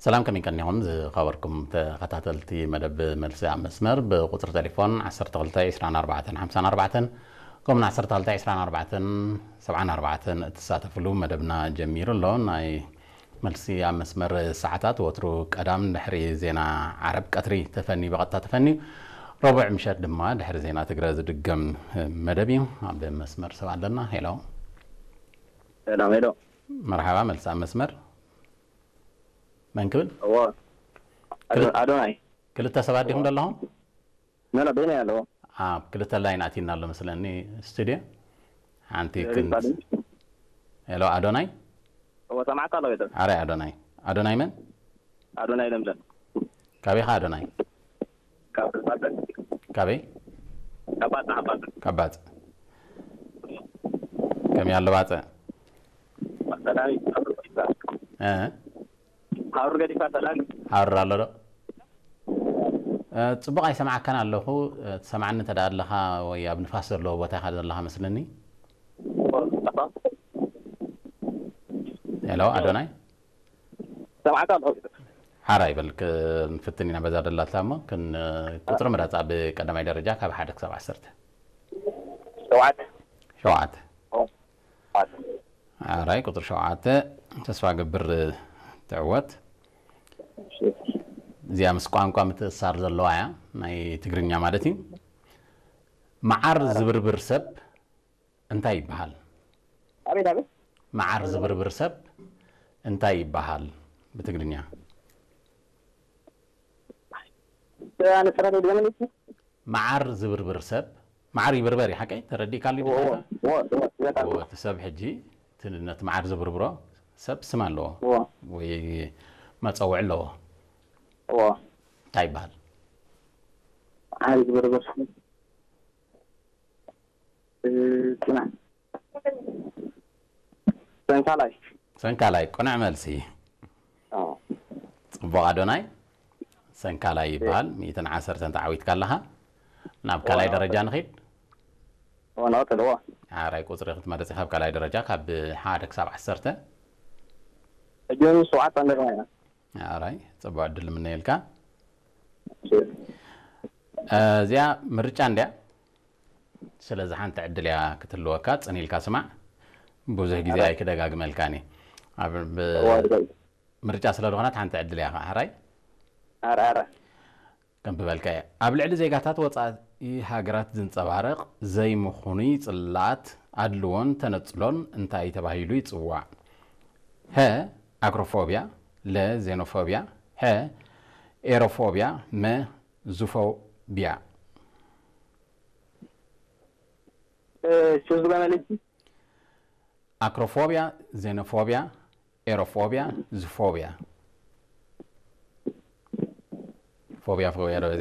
ሰላም፣ ከመይ ቀኒኹም ዝኸበርኩም ተኸታተልቲ መደብ መልሲ ኣብ መስመር? ብቁጽሪ ቴሌፎን ዓሰርተ ክልተ ዕስራን ኣርባዕተን ሓምሳን ኣርባዕተን፣ ከምኡውን ዓሰርተ ክልተ ዕስራን ኣርባዕተን ሰብዓን ኣርባዕተን እትሳተፍሉ መደብና ጀሚሩ ኣሎ። ናይ መልሲ ኣብ መስመር ሰዓታት ወትሩ ቀዳም ድሕሪ ዜና ዓረብ ቀትሪ ተፈንዩ፣ ብቐጥታ ተፈንዩ፣ ረቡዕ ምሸት ድማ ድሕሪ ዜና ትግረ ዝድገም መደብ እዩ። ኣብ መስመር ሰብ ኣለና። ሄሎ። ሰላም፣ ሄሎ። መርሓባ፣ መልሲ ኣብ መስመር። መን ክብል? እዎ። ኣዶ-፣ ኣዶናይ። ክልተ ሰባት ዲኹም ዘለኹም? ኖ፣ ኖ፣ በይነይ ኣለዎ። ኣብ ክልተ ላይን ኣቲና ኣሎ መስለኒ ስቱድዮ። ሓንቲ ሪፋ ክንት ድምፂ። ሄሎ፣ ኣዶናይ። እዎ፣ ሰማዕካ ኣለዎ። ቤተሰብ ኣረ ኣዶናይ። ኣዶናይ መን? ኣዶናይ ለምለም። ካበይ ኢኻ ኣዶናይ? ካብ ባጽዕ። ካበይ? ካብ ባጽዕ፣ ካብ ባጽዕ። ካብ ባጽዕ። ከመይ ኣሎ ባጽዕ? ሰላም እዩ። ካብ ሩር ገዲፍካ። እ? ካብ ሩር ገዲፍካ ሰላም እዩ። ሃሩር ኣሎ ዶ? እ፣ ጽቡቕ ኣይሰማዓካን ኣለኹ። እ፣ ትሰማዓኒ እንተ ደኣ ኣለኻ ወይ ኣብ ንፋስ ዘለዎ ቦታ ኢኻ ዘለኻ መስለኒ። ሄሎ፣ ኣዶናይ? ሰማዕካ ኣለኹ። ሓራይ በል፣ ክንፍትን ኢና በዛ ደላትላ እሞ፣ ክን-፣ ቁጽሪ ምረጽ ኣብ ቀዳማይ ደረጃ ካብ ሓደ ክሳብ ዓሰርተ። ሸውዓተ። ሸውዓተ። ኦ፣ ሸውዓተ። ሓራይ፣ ቁጽሪ ሸውዓተ፣ ተስፋ ገብር ትዕወት። እሺ። እዚኣ ምስ ቋንቋ ምትእስሳር ዘለዋ እያ፣ ናይ ትግርኛ ማለት እዩ። መዓር ዝብርብር ሰብ እንታይ ይበሃል? ኣቤት፣ ኣቤት። መዓር ዝብርብር ሰብ እንታይ ይበሃል ብትግርኛ? ኣነ ጥራሕ ድገመለይ። መዓር ዝብርብር ሰብ፣ መዓር ይብርበር እዩ፣ ሓቀይ? ተረዲእካሉ? እዎ፣ እዎ፣ እዎ፣ እዎ፣ እዎ። እዎ፣ እቲ ሰብ ሕጂ፣ እቲ ነቲ መዓር ዝብርብሮ ሰብ ስም ኣለዎ እዎ። ወይ መጸውዒ ኣለዎ። እዎ። እንታይ ይበሃል? መዓር ዝብርብር ሰብ። እ፣ ጽናሕ። ሰንካላይ። ሰንካላይ፣ ቅኑዕ መልሲ። ኣዎ። ጽቡቕ ኣዶናይ፣ ሰንካላይ ይበሃል። ሚእትን ዓሰርተን ተዓዊትካ ኣለኻ። ናብ ካልኣይ እዋ፣ ደረጃ እዋ። ንኺድ። እዋ፣ ናወት ኣለዎ። ሓራይ ቁጽሪ ክትመርጽ ኢኻ፣ ካብ ካልኣይ ደረጃ ካብ ሓደ ክሳብ ዓሰርተ። ሕጂ እውን ሸውዓተ እንደገና ኢና። ሓራይ፣ ጽቡቕ ዕድል ንምነየልካ። እሺ። እ፣ እዚኣ ምርጫ እንድያ። ስለዚ ሓንቲ ዕድል እያ ክትህልወካ፣ ጽን ኢልካ ስማዕ። ብዙሕ ግዜ ኣረ። ኣይክደጋግመልካን እየ። ኣብ ብ-፣ እዋ፣ ድገም። ምርጫ ስለ ዝኾነት ሓንቲ ዕድል እያ ኸዓ። ሕራይ? ኣረ፣ ኣረ። ከንብበልካ እየ። ኣብ ልዕሊ ዜጋታት ወጻኢ ሃገራት ዝንጸባረቕ ዘይምኹኑይ ጽልኣት፣ ኣድልዎን ተነጽሎን እንታይ ተባሂሉ ይጽዋዕ? ሀ፣ ኣክሮፎብያ፣ ለ፣ ዜኖፎብያ፣ ሐ፣ ኤሮፎብያ፣ መ፣ ዙፎብያ። እ፣ ሹዝ ገመልቲ። ኣክሮፎብያ፣ ዜኖፎብያ፣ ኤሮፎብያ፣ ዙፎብያ። ፎብያ፣ ፎብያ ዶ